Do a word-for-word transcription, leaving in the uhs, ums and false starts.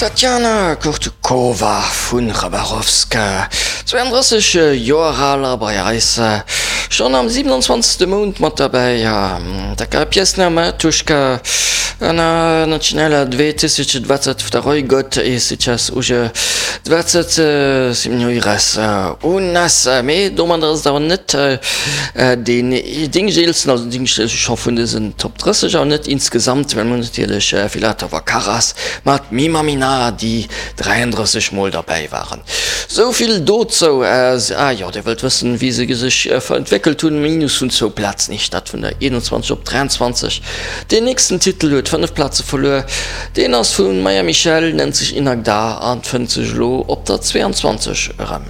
D'Tatjana Kurtukova vu Chabarovsk, zweiandrësseg Joer al a bei eis schonn am siewenundzwanzegste Mount mat derbäi. Такая песня Матушка, она начинала две тысячи двадцать второй год и сейчас уже двадцать седьмой раз у нас. Mee domadder ass et awer net deen Dingseelsten, also Dingseelste scho vun dësen Top drësseg, awer net insgesamt, well mir hunn natierlech Filatov a Karas mat Mi Mamina, déi dräiandrësseg Mol derbäi waren. Sou vill dozou. Ah jo, Dir wëllt wëssen, wéi se sech entwéckelt hunn, Minus vun zwou Plazen, heescht dat, vun der eenonzwanzeg op dräianzwanzeg. Deen nächsten Titel huet fënnef Plaze verluer, deen ass vu Maja Michelle, nennt sech Inagda an fënnt sech elo op der zweeanzwanzeg erëm.